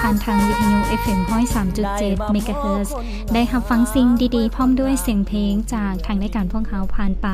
ຜ່ານທາງວິທະຍຸ ເອັຟເອັມ ຮ້ອຍສາມຈຸດເຈັດ ເມກາເຮີດ ໄດ້ຮັບຟັງສິ່ງດີໆ ພ້ອມດ້ວຍສຽງເພງຈາກທາງລາຍການພວກເຮົາຜ່ານໄປ.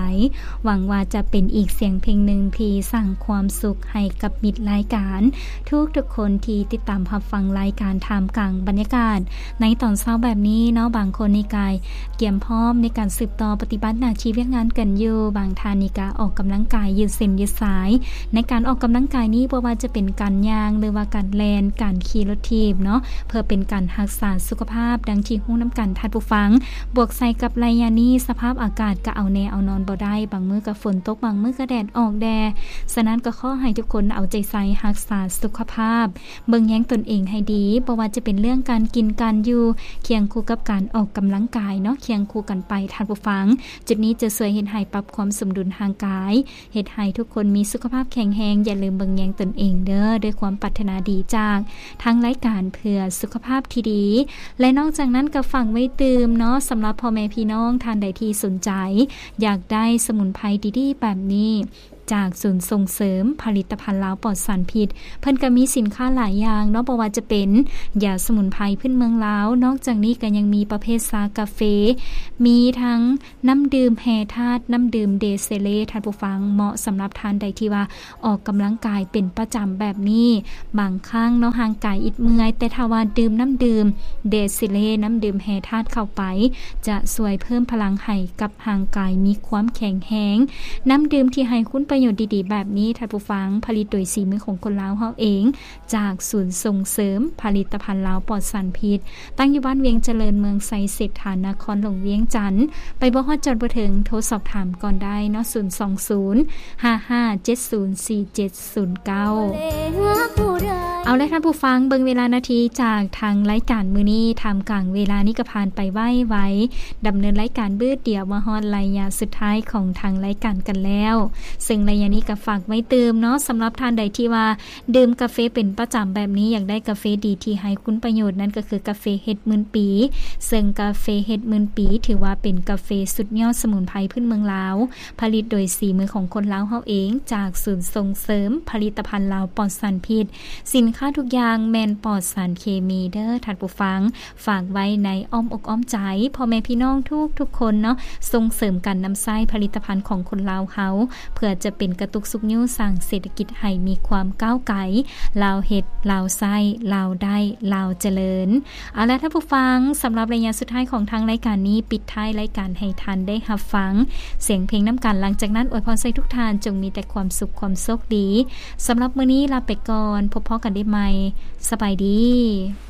ຫວັງວ່າຈະເປັນອີກສຽງເພງໜຶ່ງທີ່ສ້າງຄວາມສຸກໃຫ້ກັບມິດລາຍການ ທຸກໆຄົນທີ່ຕິດຕາມຮັບຟັງລາຍການທ່າມກາງບັນຍາກາດໃນຕອນເຊົ້າແບບນີ້ເນາະ. ບາງຄົນນີ້ກາຍກຽມພ້ອມໃນການສືບຕໍ່ປະຕິບັດໜ້າທີ່ວຽກງານກັນຢູ່, ບາງທ່ານນີ້ກະອອກກຳລັງກາຍຢືດເສັ້ນຢືດສາຍ. ໃນການອອກກຳລັງກາຍນີ້ ບໍ່ວ່າຈະເປັນການຍ່າງ ຫຼືວ່າການແລ່ນ, ການຂີ່ລົດຖີບເນາະ ເພື່ອເປັນການຮັກສາສຸຂະພາບ. ດັ່ງທີ່ຮູ້ນຳກັນທ່ານຜູ້ຟັງ, ບວກໃສ່ກັບໄລຍະນີ້ ສະພາບອາກາດກະເອົາແນ່ເອົານອນບໍ່ໄດ້, ບາງມື້ກະຝົນຕົກ, ບາງມື້ກະແດດອອກແດ່. ສະນັ້ນກະຂໍໃຫ້ທຸກຄົນເອົາໃຈໃສ່ຮັກສາສຸຂະພາບ, ເບິ່ງແຍງຕົນເອງໃຫ້ດີ, ບໍ່ວ່າຈະເປັນເລື່ອງການກິນການຢູ່, ຄຽງຄູ່ກັບການອອກກຳລັງກາຍເນາະ, ຄຽງຄູ່ກັນໄປທ່ານຜູ້ຟັງ. ຈຸດນີ້ຈະຊ່ວຍເຮັດໃຫ້ປັບຄວາມສົມດຸນຮ່າງກາຍ, ເຮັດໃຫ້ທຸກຄົນມີສຸຂະພາບແຂງແຮງ. ຢ່າລືມເບິ່ງແຍງຕົນເອງເດີ້, ດ້ວຍຄວາມປາດຖະໜາດີຈາກທາງລາຍການເພື່ອສຸຂະພາບທີ່ດີ. ແລະ ນອກຈາກນັ້ນກໍຝາກໄວ້ຕື່ມເນາະ, ສຳລັບພໍ່ແມ່ພີ່ນ້ອງທ່ານໃດທີ່ສົນໃຈຢາກໄດ້ສະໝຸນໄພດີໆແບບນີ້ ຈາກສູນສົ່ງເສີມຜະລິດຕະພັນລາວປອດສານພິດ, ເພິ່ນກໍມີສິນຄ້າຫຼາຍຢ່າງເນາະ, ບໍ່ວ່າຈະເປັນຢາສະໝຸນໄພພື້ນເມືອງລາວ, ນອກຈາກນີ້ກໍຍັງມີປະເພດຊາກາເຟ, ມີທັງ ນ້ຳດື່ມແຮ່ທາດ, ນ້ຳດື່ມເດເຊເລ, ທ່ານຜູ້ຟັງ, ເໝາະສຳລັບທ່ານໃດທີ່ວ່າອອກກຳລັງກາຍເປັນປະຈຳແບບນີ້. ບາງຄັ້ງເນາະ, ຮ່າງກາຍອິດເມື່ອຍ, ແຕ່ຖ້າວ່າດື່ມນ້ຳດື່ມເດເຊເລ, ນ້ຳດື່ມແຮ່ທາດເຂົ້າໄປ, ຈະຊ່ວຍເພີ່ມພະລັງໃຫ້ກັບຮ່າງກາຍມີຄວາມແຂງແຮງ. ນ້ຳດື່ມທີ່ໃຫ້ຄຸນປະໂຫຍດດີໆແບບນີ້, ທ່ານຜູ້ຟັງ, ຜະລິດໂດຍສີມືຂອງຄົນລາວເຮົາເອງ. ຈາກສູນສົ່ງເສີມຜະລິດຕະພັນລາວປອດສານພິດ, ຕັ້ງຢູ່ບ້ານວຽງຈະເລີນ, ເມືອງໄຊເສດຖາ, ນະຄອນຫຼວງວຽງຈັນ. ໄປບໍ່ຮອດຈອດບໍ່ເຖິງ, ໂທສອບຖາມກ່ອນໄດ້ເນາະ, ສູນສອງສູນ ຫ້າຫ້າເຈັດສູນ ສີ່ເຈັດສູນເກົ້າ. ເອົາລະທ່ານຜູ້ຟັງ, ເບິ່ງເວລານາທີຈາກທາງລາຍການມື້ນີ້, ທ່າມກາງເວລານີ້ກໍຜ່ານໄປໄວໆ, ດຳເນີນລາຍການບຶດດຽວ ມາຮອດໄລຍະສຸດທ້າຍຂອງທາງລາຍການກັນແລ້ວ. ເຊິ່ງໄລຍະນີ້ກໍຝາກໄວ້ຕື່ມເນາະ, ສຳລັບທ່ານໃດທີ່ວ່າ ດື່ມກາເຟເປັນປະຈຳແບບນີ້, ຢາກໄດ້ກາເຟດີທີ່ໃຫ້ຄຸນປະໂຫຍດ, ນັ້ນກໍຄືກາເຟເຮັດໝື່ນປີ. ເຊິ່ງກາເຟເຮັດໝື່ນປີ ຖືວ່າເປັນກາເຟສຸດຍອດສະໝຸນໄພພື້ນເມືອງລາວ, ຜະລິດໂດຍສີມືຂອງຄົນລາວເຮົາເອງ, ຈາກສູນສົ່ງເສີມຜະລິດຕະພັນລາວປອດສານພິດ. ສິນຄ້າທຸກຢ່າງແມ່ນປອດສານເຄມີເດີ້ທ່ານຜູ້ຟັງ. ຝາກໄວ້ໃນອ້ອມອົກອ້ອມໃຈພໍ່ແມ່ພີ່ນ້ອງທຸກໆຄົນເນາະ, ສົ່ງເສີມການນຳໃຊ້ຜະລິດຕະພັນຂອງຄົນລາວເຮົາ, ເພື່ອຈະເປັນກະຕຸກຊຸກຍູ້ສ້າງເສດຖະກິດໃຫ້ມີຄວາມກ້າວໄກ. ລາວເຮັດ, ລາວໃຊ້, ລາວໄດ້, ລາວຈະເລີນ. ເອົາລະທ່ານຜູ້ຟັງ, ສຳລັບໄລຍະສຸດທ້າຍຂອງທາງລາຍການນີ້, ປິດທ້າຍລາຍການໃຫ້ທ່ານໄດ້ຮັບຟັງສຽງເພງນຳກັນ. ຫຼັງຈາກນັ້ນ, ອວຍພອນໃສ່ທຸກທ່ານຈົ່ງມີແຕ່ຄວາມສຸກ, ຄວາມໂຊກດີ. ສຳລັບມື້ນີ້ລາໄປກ່ອນ, ພົບພໍ້ກັນໄດ້ໃໝ່. ສະບາຍດີ.